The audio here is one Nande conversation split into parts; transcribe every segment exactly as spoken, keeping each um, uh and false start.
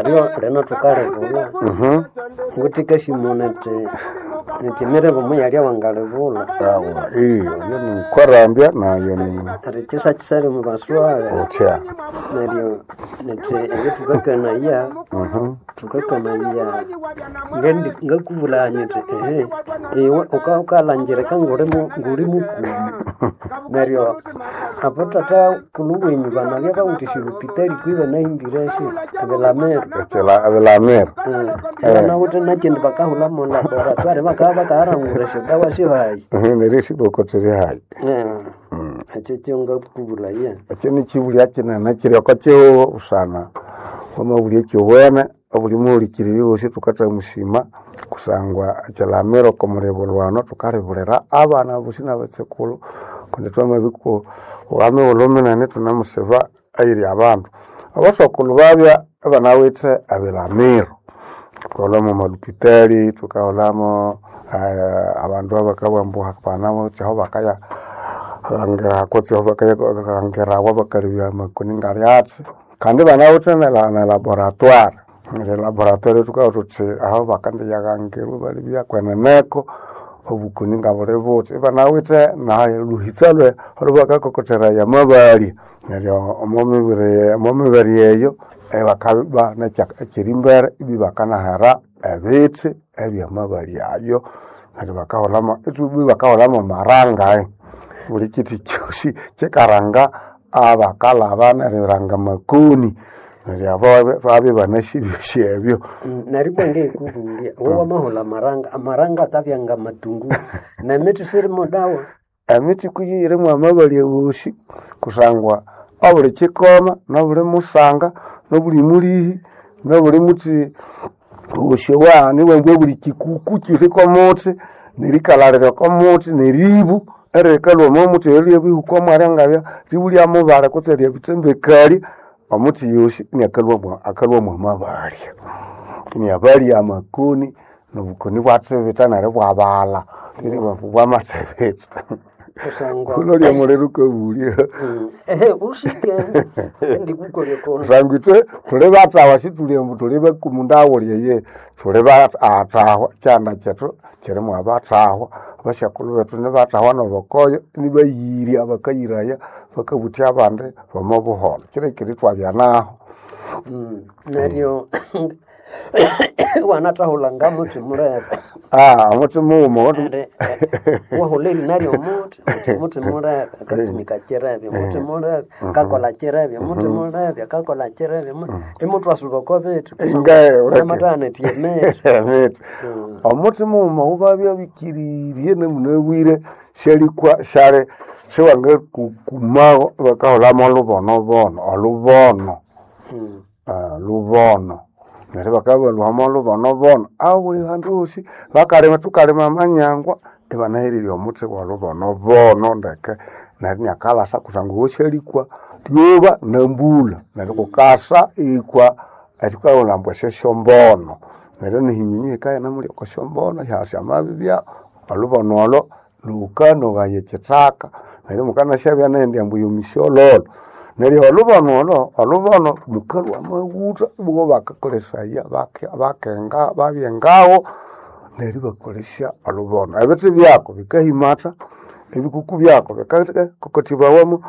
Naryo lino thukalibulha Mhm. nguthikashimuna nti nti emiribo muyalya wangalibulha Awa, iyo yo ni kwarambya nayo ni ati kyisakisali mu baswaga utya neryo nti ebyo thukakanaya Mhm. thukakanaya ngendi ngakubulanya nti ehe iwe uka- ukalangirika nguli mu- nguli mukumi neryo apo tata kulhu wenyu banabya bawithe esyolupitali kwi banahimbire esyo ebilamiro Ekila ebilamiro banawithe nakyindi bakahulha mu laboratoire bakabya bakaharangura esyodawa syohayi Mhm, neryo esiboko tsiri hayi ekyo kyo ngakubulaya ekyo nikyibulya kinene kiri oko kihugho busana wamabulya ekyoghene obuli muhulikiriri wosi thukathamusima kusangwa ekilamiro oko mulibulwano thukalibulira abana bosi nabatsekulhu kundi twamabikwa emighulhu minene ithunemusiba eyiri abandu. Abasokulhu babya ibanawithe ebilamiro thukaghulhamu amalupitali, thukaghulhamu eh, abandu abakabugha ambu banawithe aho bakaya hangira kutse aho bakaya bakalebya amakoni ngali athi kandi banawithe ne laboratoire. Neryo elaboratory thukabugha thuthi aho bakandiyaghangirwa ibalebya kweneneko obukoni ngabuli buthi. Ibanawithe naluhitsa lwe olwabakakokotheraya amabalya. Neryo omo mibiri omo mibere eyo ibakaba ekyerimbere ibibakanahera ebithi ebyamabalya ayo neryo bakahulhamu ibakahulhamu amaranga buli kithi kyosi kikaranga abakalhaba neriranga amakoni neryo abo babya ibanasi ebyosi ebyo. Neryo ibwa ngikubulya iwe wamahulha amaranga, amaranga akabya ngamatunguru nemithi sirimo dawa Emithi kuyo yirimu amabalya wosi kusangwa obuli kikoma nobuli musanga nobuli mulihi nobuli muthi wosi owa nibabugha obuli kikuku kiri komuthi nerikalhalira okomuthi neribu eririkalhwa omo muthi eryo ryabihuka omwalya ngabya ribu lyamubale kutse ryabitsembekali omuthi yosi iniakalhwa akalhwa mwamabalya. Iniabalya amakoni nobukoni ibwathibitha neryo ibwabalha bwamathibitha. kusangwa Wulholya omuliro wukabulya ehe usike indikukolya kono kusangwa ithwe thuli batahwa sithuli ambu thuli bakumu ndaghulya eyihi thuli batahwa ekyanda kyethu kyirimu abathahwa abasyakulhu bethu nibathahwa nobokoyo inibayirya bakayiraya bakabuthya abandi bomo buholho kyirikiri ithwabya naho. neryo wanathahulha ngamuthi mulebe Ah, omuthi mughuma Eri- eh, wahulha erina lyomuthi uthi muthi mulebe akatumika kirebe muthi mulebe kakolha kirebe muthi mulebe akakolha kirebe imuthwasuba oko bithi Ingaye, uleke. namathaghana ethi emithi emithi omuthi mughuma wubabya bikirirye namunabwire syalikwa syali siwangakukumaho bakahulhamu olubonobono olubono Ah, lubono neryo bakabya olubonobono abuli handu hosi bakalima thukalima amanyangwa ibanahererya omuthi wolubonobono ndeke neryo iniakalhasa kusangwa owo syalikwa lyoba nambulha neryo kukasa ikwa ekyukaghulha ambu esyosyombono neryo nehinyinyi hikaghenda oko syombono syamabibya olubono olo lhukanogaya ekyithaka neryo mukanasyabya nendi ambu yomisyololo neryo olubono olo olubono mukalhwa amaghutha ibowa bakakolesaya bake- bakenga babyengaho neryo ibakolesya olubono. Ebithi byako bikahimatha, ebikuku byako bikakokothibawa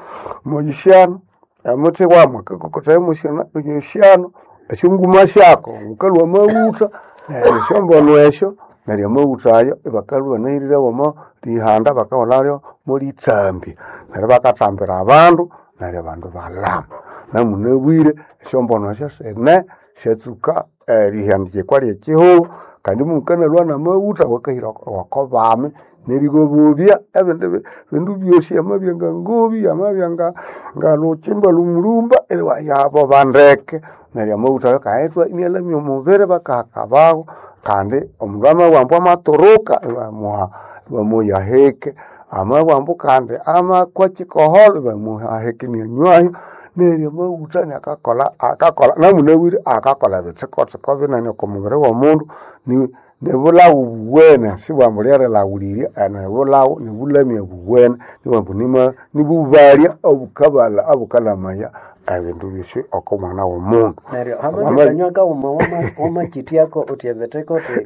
moyisyano, omuthi wamu akakokotaya moyisyano, esyonguma syako mukalhwa amaghutha neryo esyombono esyo neryo amaghutha ayo ibakalhwa ibanahirire womo lihanda bakahulhalyo molithambi neryo bakathambira abandu neryo abandu ibalhama. Namunabwire esyombono esyo sine syatsuka erihandikwa lyekyihugho kandi mukanalhwa namaghutha awakahira oko bami nerigobobya ebindi bindu byosi amabya nga ngobi amabya nga nga lhukyimba lhumulumba iwayaboba ndeke neryo amaghutha ayo akahethwa inialamya omubiri bakahakabaho kandi omundu amabugha ambu amaturuka ibamuha ibamuha ahike amabugha ambu kandi amakwa kyikoholho ibamuha ahike inianywayo neryo amaghutha iniakakolha akakolha namunabwire akakolha ebitsikotsiko binene oko mubiri womundu ni- nibulhaghu buwene sibwambu lyerilhaghulirya nibulhaghu nibulamya buwene nibwambu nima nibubalya obukabalha obukalamaya ebindu byosi oko mwana w'omundu. Neryo hamabikanywa kaghuma wamakyithyako uthi ebithikotiko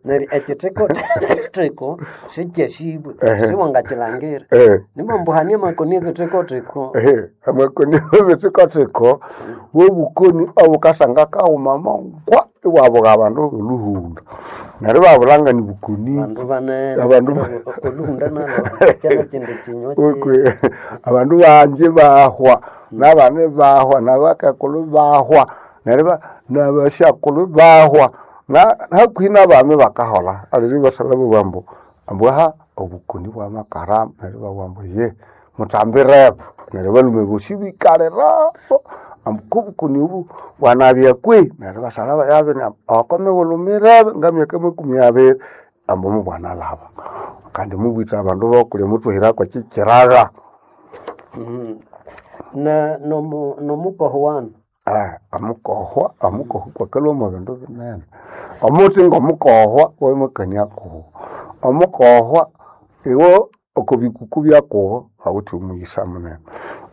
neryo ekithikotiko sikyasibwe siwangakyilangira Eh. nimba hane amakoni ebithikotiko. Ehe, amakoni ebithikotiko bwobukoni obukasanga kaghuma mangwa iwabuga abandu oluhunda neryo ibabulanga nibukoni. Bandu banene Abandu oluhunda nalo kyana kyindi kinywa Okwe, abandu bangi bahwa nabandi bahwa nabakakulhu bahwa neryo ba- nabasyakulhu bahwa na- hakuhi nabami bakaholha aliri ibasalha babugha ambu ambu aha obukoni bwamakarama neryo ibabugha ambu ye mutambirebo neryo abalhume bosi ibikaliraho ambu kobukoni obu bwanabya kwihi neryo ibasalha babiri oko mighulhu mirebe ngamyaka makumi abiri ambu mubwanalhaba kandi mubwitha abandu bokulya muthwahirako kyikyiraga. Na nomu nomukoho wanu. Ah, amukohwa amukohwa kwakalhwa mwa bindu binene omuthi ngomukohwa wamakania kuwo omukohwa iwo oko bikuku byakuwo awithe omughisa munene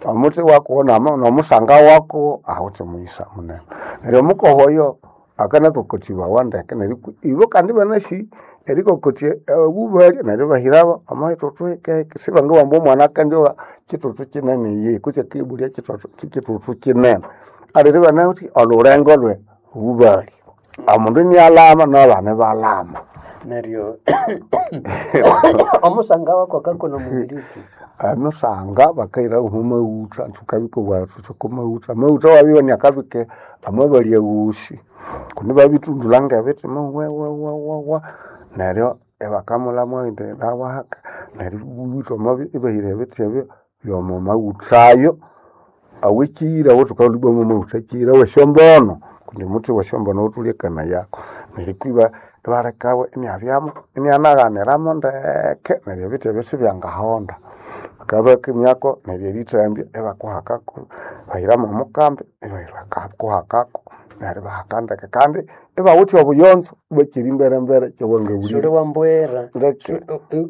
omuthi wakuwo nama- nomusanga wakuwo awithe omughisa munene neryo omukohwa oyo akanakokothibawa ndeke neryo ibo kandi ibanasi erikokotya obubalya neryo ibahirabo omo hithuthu hikehike sibangabugha ambu omwana akandyowa kithuthu kinene iyihi kutse akibulya kithuthu kithuthu kinene aliri ibanawithe olhulengo lwe obubalya omundu inialhama nabana ibalhama. Neryo omusanga wako akakona mubiri ki? Emisanga bakahira omo maghutha thukabika obwathu oko maghutha amaghutha wabibya iniakabika amabalya ghosi kundi babithundulha ngebithi wawawawa neryo ibakamulhamu indi nawahaka neryo ibabya ibahira ebithi ebyo byomo maghutha ayo awekyira awathukaghulha ibwa mwamaghutha akyira awesyombono kundi omuthi wesyombono wuthulyakanayako neryo kwiba ibalekawo iniabyamu inianaghaniramu ndeke neryo ebithi ebyo sibyangahonda bakabya neryo erithambya ibakuhakako bahiramu omukambi ibakuhakako neryo ibahaka ndeke kandi ibawithe obuyonzo ibakira emberembere Suli kyawangabulire wambwera ndeke.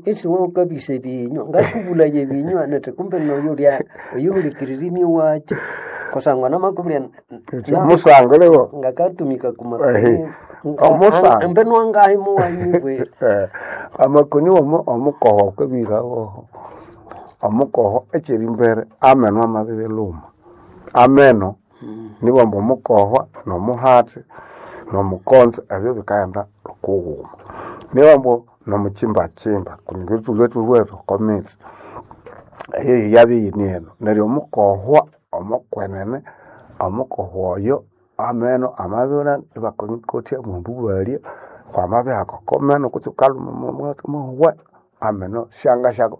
Isiwe wukabisa ebinywa ngakubulaya ebinywa nithi kumbe noyo ulya oyuhulikiririmye wakyo kusangwa namakubulya Omusango leo ngakatumika Ehe. Omusanga. mbenu wangahi muwanyibwera. Eh, amakoni omu omukoho akabirawoho omukoho ekyiri mbere ameno amabibilhuma ameno nibwamba omukohwa nomuhati nomukonzo ebyo bikaghenda kughuma nibwamba nomukimbakimba kundi thulhwe thubugha oko mitsi eyo yabya iyine eno neryo omukohwa omukwenene omukohwa oyo ameno amabya ibakokotya mwambubalya wamabihaka oko meno kutse wukalhuma omwa ameno syangasyako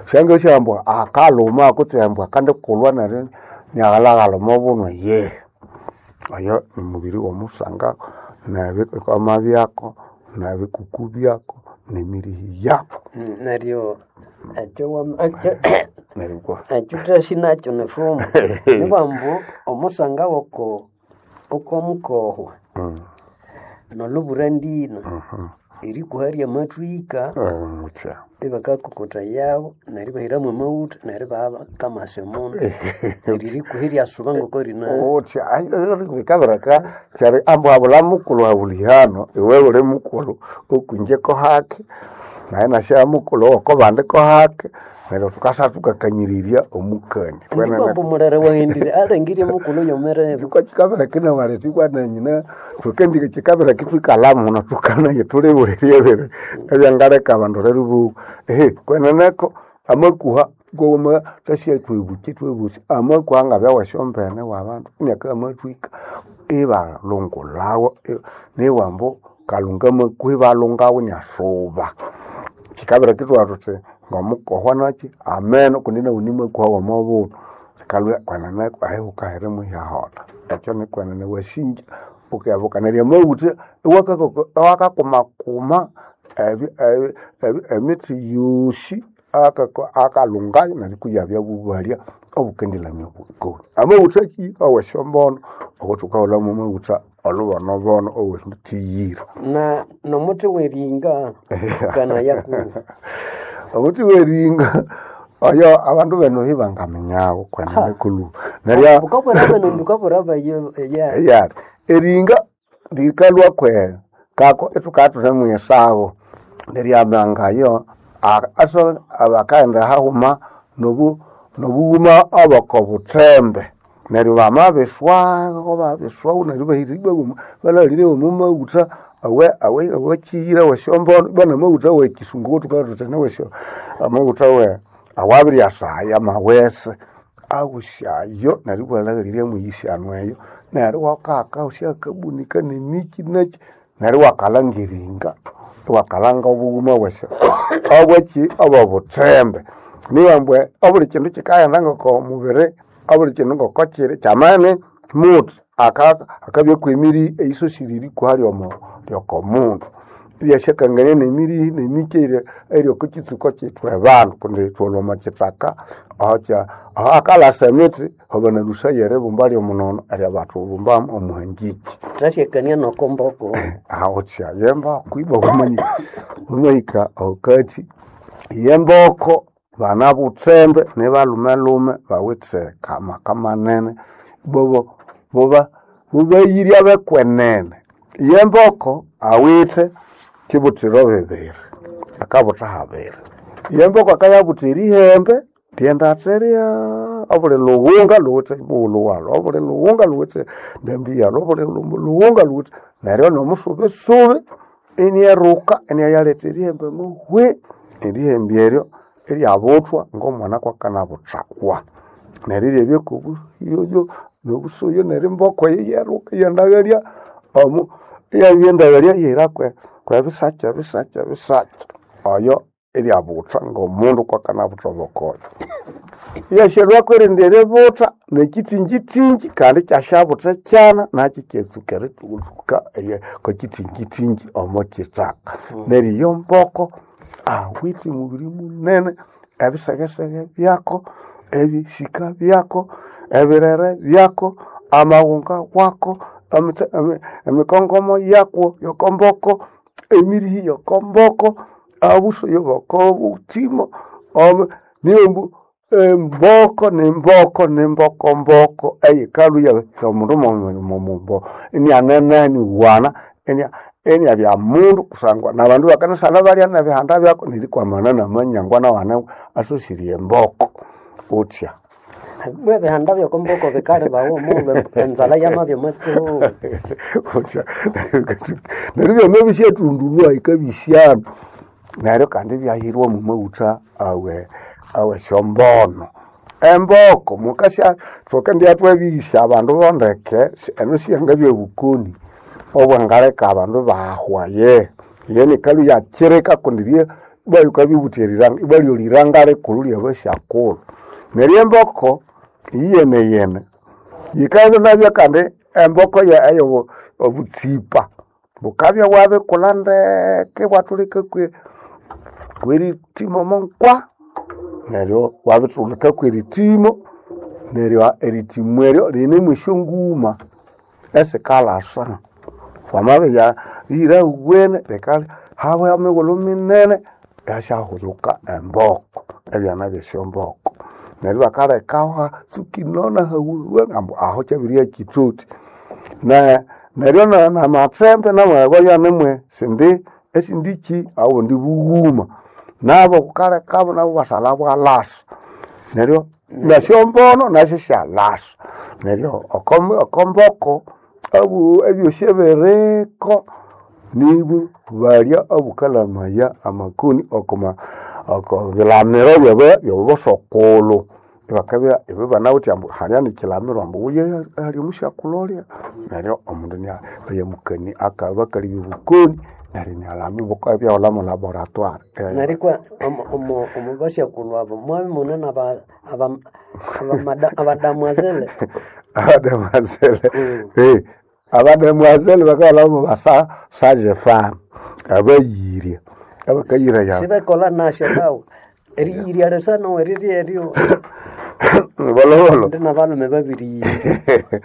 syangasyambwa akalhuma kutse embwa akandikulhwa neryo inaghalhaghalha omo bunwa yehe oyo nimubiri womusanga nebikoma byako nebikuku byako nemirihi yako. Neryo ekyo wama ekyo Neryo kwa ekyo thasi nakyo nifumbo nibambu omusanga woko okomukohwa nolubura ndina erikuha ryamathwika muthya ibakakokotha yabo neryo ibahiramu amaghutha neryo ibabakamasa omundu neryo erikuha eryasuba ngoko rina. Uthi bikabireka kyari ambu habula mukulhu habuli hano iwe uli mukulhu okwinje kohake naye nasya mukulhu owoko bandi kohake neryo thukasa thukakanyirirya omukani. Ndibambu mulere waghendire alengirye mukulhu yomerebe. Chikwa chikabireka inawaleta ibwana nyina thukendike chikabireka ithwikalha muno thukanaye thulibulirye ebindu ebyangaleka abandu lero ibowa ehe kweneneko amakuha ngowama thasya thwebuki thwebusi amakuha ngabya wesyombene wabandu iniaka amathwika ibalhungulhawo niwambu kalhunga amakuha ibalhungawo iniasuba chikabireka ithwabugha thuthi ngomukohwa nakyi ameno kundi nawu nimakuha womobundu sikalhwa kwenene ahi wukahiramu ihaholha ekyo nikwenene wasinja wukayabuka neryo amaghutha iwakakumakuma ebi- ebi- ebi- emithi yosi akalhungayo neryo kuyabya bubalya obukendilamya obukoni amaghutha ki awesyombono awathukaghulhamu amaghutha olhubonobono owerithiyira. Na nomuthi weringa kana yakuha. Omuthi weringa Oyo abandu beno hibangamenyawo kwenene kulu. Neryo Ukabwera beno ndukabwera bayo ya. eyari eringa likalwa kwe kako ithukathuthemu mwisago neryamangayo aso abakaghenda hahuma nobu nobughuma oboko buthembe neryo bamabiswaho babiswaho neryo bahiribwa balhalire omu maghutha awe awe awakiyira wesyombono bana amaghutha wekisungu thukathuthi niwesyo amaghutha we awabiryasaya amawese awusyayo neryo iwalhaghirya mwiyisyanu eyo neryo iwakaka wusyakabunika nemiki naki neryo iwakalanga eringa iwakalanga obughuma bwesyo obwaki obobuthembe niyo ambu obuli kindu kikaghenda ngoko mubiri obuli kindu ngoko kiri kyamani muthi aka- akabya kwemiri eyisosire erikwa lyomo lyokomundu ibyasyakangania nemiri nemiki eyiri eyiri oko kitsuko kyethu abandu kundi ithwalhwa omo kithaka ahokya aho akalasa emithi hobanalusaya eribumba lyomunono eryabathubumba omuhangiki Tashekania nokomboko. awotya yemboko ibwa wamanyika wamahika ahakathi yemboko bana buthembe nibalumelume bawithe kamaka manene bobo boba bobayirya bekwenene yemboko awithe kibuthiro bibiri akabutha habiri yemboko akayabutha erihembe lyendatherya obuli lughunga luwithe mughulhu walhu obuli lughunga luwithe ndambi yalhu obuli lughunga luwithe neryo nomusubesubi inieruka iniayaletha erihembe muhwi erihembe eryo eryabuthwa ngomwana kwakanabuthawa neryo eryabya kobuyoyo nobusuyo neryo emboko eyo iyeruka iyandaghalya omu iyabya endaghalya iyahira kwe kwebisakya ebisakya ebisakya oyo iryabutha ngomundu kwakanabutha obokoyo iyasyalhwako erindi eributha nekithingitingi kandi kyasyabutha kyana nakyo kyatsuka erithuka kwekithingitingi omo kithaka neryo iyo mboko awithe mubiri munene ebisegesege byako ebisika byako ebirere byako amaghunga wako emithe- emi- emikongomo yakwo yokomboko emirihi yokomboko obusoyo bokobuthimo omu niyo emboko nimboko nimboko mboko eyikalhwa omundu mumbo inianene iniwana inia iniabya mundu kusangwa nabandu bakanasana balya nebihanda byako nerikwamana namanyangwa nawana asosirye emboko utya Bwe bihanda byokomboko bikali bawo omughulhu enzalha yamabya omo utya neryo byama bisyathundulwa ikabisyana neryo kandi ibyahirwa omu maghutha awe awesyombono emboko mukasya thukendibya thwabiyisya abandu bondeke eno siyangabya bukoni obwangaleka abandu bahwa ye ye nikalhu yakyirika kundi rye bayukabibutha eriranga ibalyoliranga likulhu lyabasyakulhu neryo emboko iyeneyene yikabya nabyo kandi emboko ye eyo obutsipa bukabya bwabikulha ndeke bwathulika kwe kwerithimo monkwa neryo bwabithulika kwerithimo neryo erithimo eryo rinemu esyonguma esikalasa wamabya lihira huwene rika habya mighulhu minene yasyahulhuka emboko ebyana byesyomboko neryo bakalekaho hatsuka inona hawuwene ambu aho kyabiribya kithuthi ne neryo na- namathembe namwe anemwe sindi esindiki obundi bughuma nabo bukalekabo nabo basalha bwalasa neryo nesyombono nasyo syalasa neryo oko- okomboko obu ebyosi ebiriko nibu balya obukalamaya amakoni okoma oko bilamiro byaba byabosokulhu ibakabya ibibanawithe ambu halya nikilamiro ambu wuye hali omusyakulhu olya neryo omundu inia eyamukani akabakalibya obukoni neryo inialama ibukabyahulha mo laboratoire. Nerikwa omo omo omo basyakulhu abo mwabya mune naba aba abamada abadamwazele Abadamwazele eh abadamwazele bakalhamo basa sage femme abayirya abakayiraya sibekolha nasyo dawe eriyirya lisano eriri eryo bolobolo ndi nabalhume babiriyirya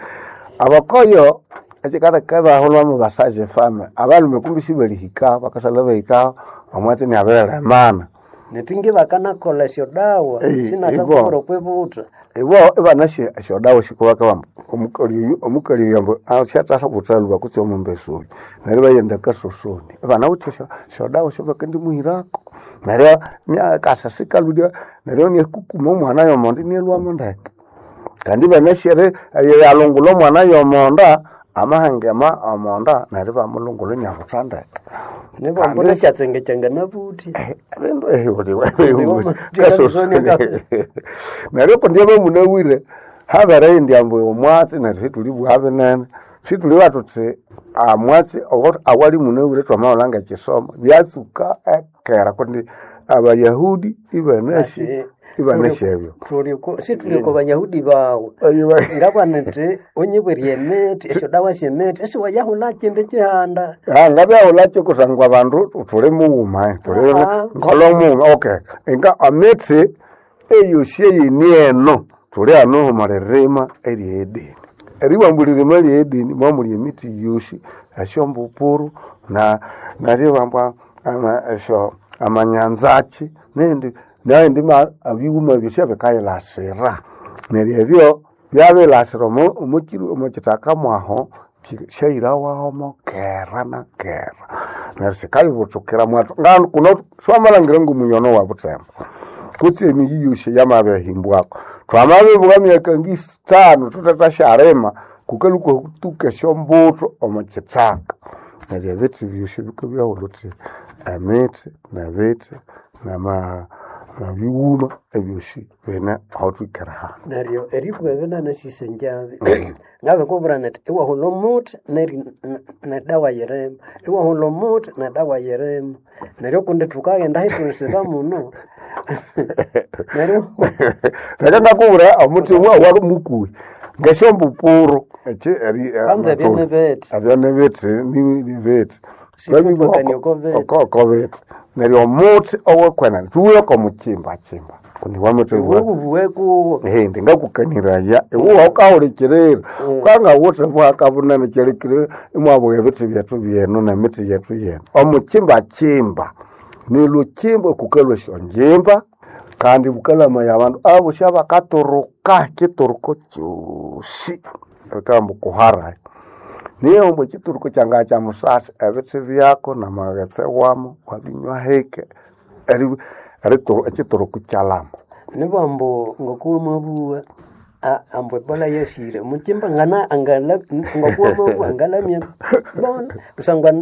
abakoyo ekikaleka ibahulhwamu basage femme abalhume kumbi sibalihika bakasalha bahika omwatsi iniabiriremana Netingi bakanakola esyodawa Eh, sinathakuhura ibo. okwibuta. Ibo ibanasi esyodawa sikubakabamba omukali omukali yambo asyathasa buthalwa kutse omumbesa oyu neryo ibaghenda akasosoni ibanawithe esyo esyodawa esyabakendimuhirako neryo akasa sikalhulya neryo inakukuma omwana yomonda inalhwamo ndeke. Kandi ibanasi eryalhungulha omwana yomonda amahangema omonda neryo ibamulhungulha inabutha ndeke. Nibambu Kandi nekyatsenge kyanganabuthi. ebindu kasosoni neryo kundi abamunabwire habere indi ambu omwatsi neryo situlibugha binene situlibugha thuthi amwatsi awali munabwire twamawulha ngekyisomo byatsuka ekera kundi Abayahudi ibanasi Ati ibanasi ebyo situli oko Bayahudi bawu. Ngabana nthi onyibwire emithi esyodawa syemithi esiwayahulha kyindi kyihanda. Ngabyahulhakyo kusangwa abandu thuli mughuma thuli Aha. ngolo mughuma okay nga emithi eyosi eyini eno thuli hano omwilirima erye Edeni eribamba eririma rye Edeni mwamuli emithi yosi esyombupuru na neribamba ama esyo amanyanzaki nendi nendi ebighuma byosi ebikayilasira neryo ebyo byabilasira omo omokyi omokithaka mwaho syahirawaho mokera na kera neryo sikayibuthukira mwathu nganu kuno siwamalhangira ngomunyono wa Butembo kutse emiyi yosi yamabihimbwako twamabibugha emyaka ngisithanu thuthethasyalima kukalhwa kutuka esyombuthu omo kithaka neryo ebithi byosi bikabyaghulha wuthi emithi nebithi nama nebighuma ebyosi bine ahathwikere hanu. Neryo eribugha ebinene sisenjabi ngabikubwira nthi iwahulha omuthi neri nedawa yirimo iwahulha omuthi nedawa yirimo neryo kundi thukaghenda hithulisira muno neryo Leka ngakubwira omuthi wa mukuhi ngesyombupuru eki eri Kwanza ebyo nibithi. ebyo nibithi nibithi Sithwakania oko bithi. oko bithi neryo omuthi owekwenene thuwe oko mukimbakimba kundi wamuthi iwe kuwo Ehe, ngakukaniraya iwe waukahulikirira ukangawuthe bwaka bunene kyalikire imwabugha ebithi byethu byenu nemithi yethu yenu omukimbakimba nilukimba kukalhwa esyongimba kandi bukalamaya abandu abosi abakaturuka ekituruko kyosi bikabugha kuharayo niyo ambu ekituruko kyangabya kyamusasi ebithi byako namaghetse wamo wabinywa hike eri- erituru- ekituruko kyalama nibambu ngokuwamabugha ambu ebola yasire mukimba ngana angala ngokuwamabugha angalamya bona kusangwa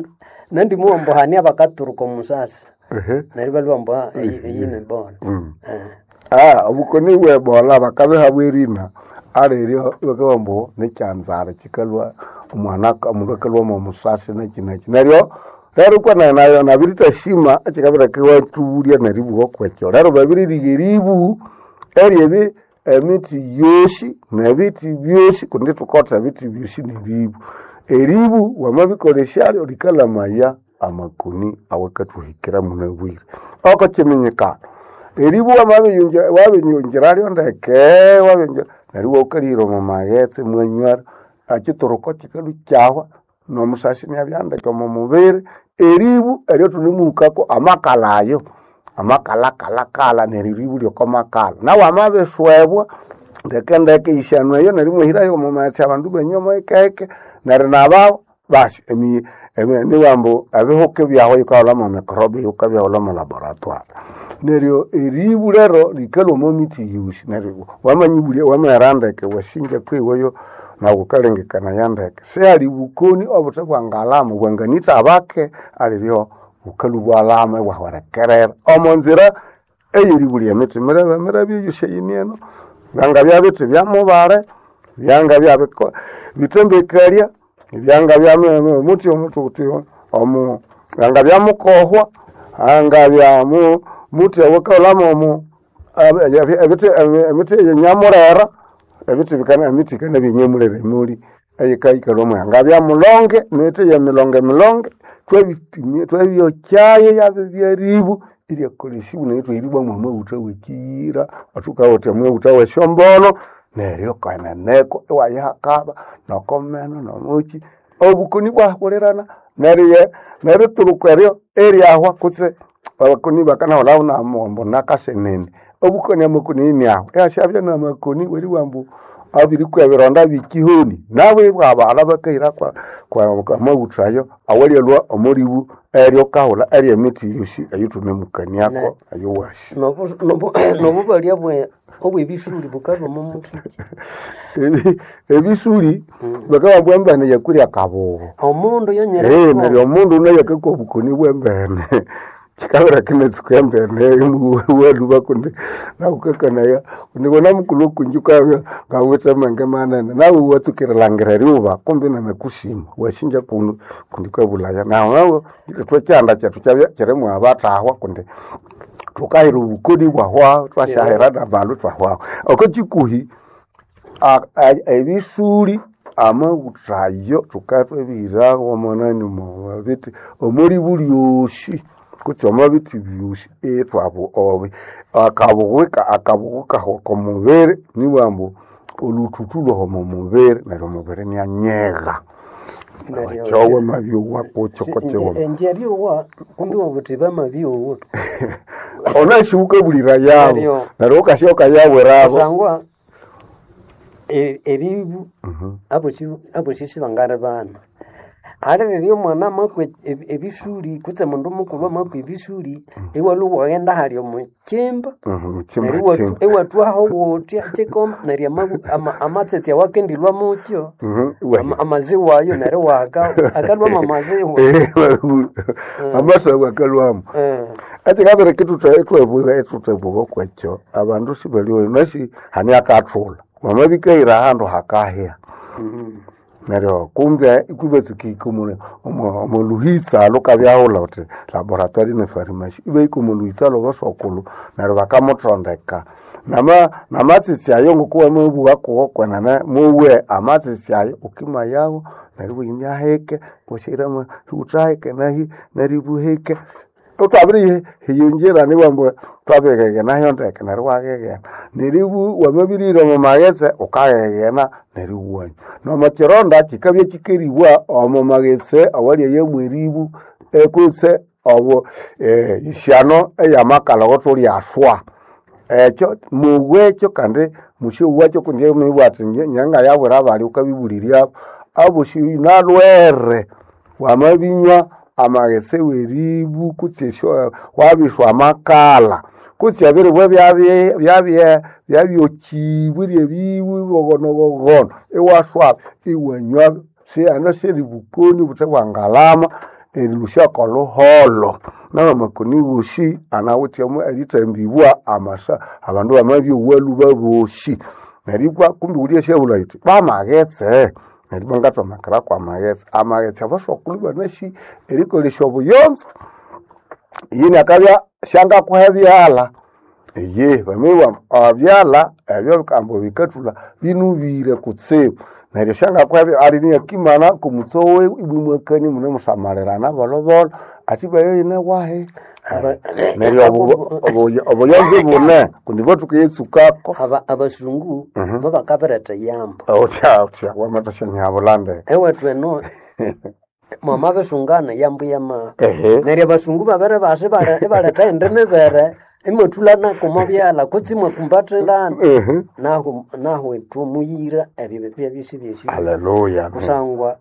nandimuwambu hani abakaturuka omusasi Ehe. neryo balhwa ambu eyi nebola Ah, obukoni bwe Ebola bakabihabwa erina aliryo bakabugha ambu nikyanzara kikalhwa omwana omundu akalhwa mwo musasi neki neki neryo rero kwana nayo nabirithashima ekikabireka iwathubulya neribugha okwekyo rero babiririha eribu eryebi emithi yosi nebithi byosi kundi thukotha ebithi byosi neribu eribu wamabikolesyalyo likalamaya amakoni awakathuhikira munabwire oko kiminyikano eribu wamabiyungira wabinyungiralyo ndeke wabiyungira neryo iwaukalihira omo maghetse mwanywalyo ekituruko kikalhwa ikyahwa nomusasi inabya ndeke omo mubiri eribu eryo thunemuhukako amakalha ayo amakalakalakala neryo eribu lyoko makalha nawu amabiswebwa ndeke ndeke eyishanu eyo neryo imwahirayo omo maghetse abandu ibanywa mohekeheke neryo nabawu basi emi emi nibughambu ebihuka ibyahu yikahulha mwa microbe yikabyahulha mwa laboratoire neryo eribu lero likalhwa omo mithi yosi neryo wamanyibulya wamaghera ndeke wasinja kwiweyo nawu wukalengekanaya ndeke sihali bukoni obuthe bwangalama bwanganitha abake aliryo bukalhwa ibwalama ibwahwerekerera omo nzira eyeribulya emithi mirebe mirebe eyosi eyini eno byangabya bithi byamubale byangabya biko bitembekalya byangabya muthi omuthi omu byangabya mukohwa angabya mu muthi awakaghulhamu omu ebithi emithi eyenyamulera ebithi bikana emithi yikanabya enyamulera emuli eyikayikalhwa mwayo angabya mulonge emithi yemilonge milonge thwabitumia twabyokyayo yabibya eribu iryakolesibwa neryo ithwahiribwa mwamaghutha wekiyira athukawithe amaghutha wesyombono neryo kweneneko iwayihakaba nokomeno nomuki obukoni bwahulirana neryo nerituruka eryo eryahwa kutse Abakoni bakanaholao namombo nakasenene obukoni amakoni ni aho eyashabya namakoni weri wambu abirikwa ebironda bikihoni nawe bwabala bakahira kwa kwa kwa maghutha ayo awalialwa omoribu eryo kahula eryo emiti yosi eyithunemukaniako eyo washi Nobu- nobu- nobubalya bwe obwebisuli bukaba omo mukiki Ebi- ebisuli bakababwa embene yakurya kabugo omundu Eh, yonyereko neryo omundu naye akakwa obukoni bwembene kikabira kinatsuka embene waluba kundi naukakanaya kundi kona mukulu kunji ukabya ngawithe amenge manene nawe watsukirilangira eryuba kumbi nanakushima washinja kuno kundi kwebulaya nawe nawe ithwe kyanda kyethu kyabya kyirimu abathahwa kundi thukahira obukoni bwahwaho twashahira nabandu twahwaho oko kikuhi a- a- ebisuli amaghuthayo thukatwebihiraho omonani mubiti omuli bulyosi kutse omwabiti byosi etwabu obi akabughika akabughika komubiri niwambu oluthuthu lwomo mubiri neryo omubiri nianyegha Neryo- kyowe mabyowa kutyo kutyo enjeryowa kumbi wabuthi bamabyowa onashiuka bulira yabo Neryo- neryo ukasyoka yawirabo kusangwa e- eribu abosi abosi sibangari bana ali riryo omwana amakwa ebi- ebisuli kutse mundu mukulhu amakwa ebisuli iwalhuwa waghenda hali omukyimba Mhm, chimba, neryo iwatu- chimba. iwatwaho wutya kikoma neryo amabu- ama- amatsetse awakendilwa mukyo Mhm, iwa- ama- amaziwa ayo neryo waka akalwamo amaziwa amasawu akalwamo Eh, ati kabere kitutwebuka etutwebuka kwekyo abandu sibaliwe nasi hani akathula wamabikaira ahandu hakahya neryo kumbe ikwibatsuka omuluhitsa lukabyaghulha uthi laboratory ne pharmacy ibaika omuluhitsa lwabasokulu neryo bakamuthondeka nama namatsitsi ayo ngokuwamabugha kuwo kwenene muwe amatsitsi ayo ukimayawo neryo iwimya hike washairamo uthahike nahi neryo ibuhike utwabiri hiyunjira niwambu twabighegena nayo ndeke neryo waghegena neribu wamabirire omu maghetse ukaghegena neryo iwanywa nomukironda kikabya kikeribwa omu maghetse awalyayamu eribu eh, kutse obo eh, isyano eyamakalha awathulyaswa ekyo muwekyo kandi musyowacho kundi mibwa ati nyanga yabwira abali ukabibulirya abosi nalwere wamabinywa amaghetse weribu kutse esyo wabiswa amakala kutse ebiribwa byabye byabye byabyokibwa eryebibu bogonogogono iwaswa iwanywa siana seribukoni obuthe bwangalama erilusha koluholo nabamakoni wosi anawithemu erithambibwa amasa abandu bamabyowa lhuba bosi neryo ibwa kumbi wulya syabulha yuthi bamaghetse neryo ibwa ngathomakera kwamaghetse amaghetse abasokulu banasi erikolesya obuyonzo yini akabya syangakuha ebyalha iye bamibwa abyalha ebyo ambu bikathulha binubire kutsibu neryo syangakuha ebya ali niakimana kumutsowe ibwe mwakani munemusamalirana bolobolo ati bayo yine wahe Aba- neryo obu- obu- obuyonzo bune kundi bwathukiyetsukako aba- abasungu bo bakabiretha eyambo otya otya wamathasyanyihabulande ewethu eno mwamabisungana eyambo yama Ehe. neryo abasungu babere basi bare- ibaletha indi mibere imwathulana kumobyalha kutse imwakumbathilana Ehe. nahu nahu ithwe muyira ebyo byabisi byesi aleluya kusangwa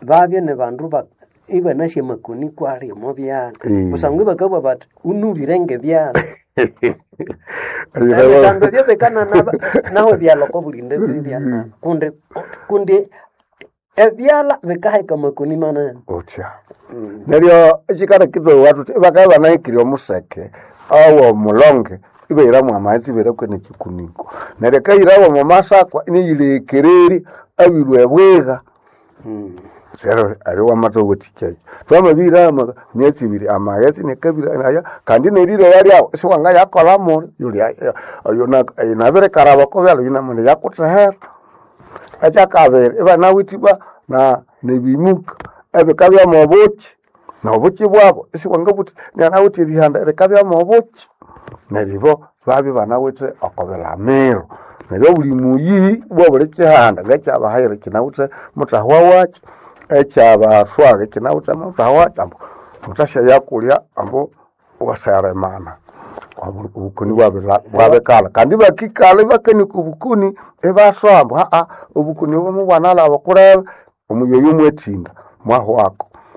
babye ni bandu ba ibanasya amakoni kwali omo byalha Eh. kusangwa ibakabugha bathi unubire ngebyalha ebisandu ebyo bikanana naho ebyalha okobulinde byana kundi kundi ebyalha bikaheka amakoni manene otya neryo ekikara kithowa thuthi ibakabya banahikirye omuseke awo omulonge ibahiramu amaghetse ibahiraku nekikuniko neryo akahirawo omo masakwa iniyilekererya abilwa ebwiga sero ari wamathowathikya twamabihira ama- myatsi ibiri amaghetse nikabiri aya kandi nerire lyawo siwangayakola muli nabirikaraba kobyalha yunamuli yakuthehera ekyakabiri ibanawithe ibwa na nebimuka ebikabyamu obuki nobuki bwabo isiwangabuthi nyanawithe erihanda rikabyamu obuki neryo ibo babya banawithe okobilamiro neryo obuli muyi bwobuli kihanda ngekyabahayire kinawithe muthahwa wakyo ekyabaswaga kinawithe muthahwa wakyo ambu muthasyayakulya ambu Wasayalemana Obu- obukoni bwabila- bwabikala kandi bakikala ibakanika obukoni ibaswamba aa obukoni obo mubwanalaba kulebe omuyoyo mwethinda mwahwako.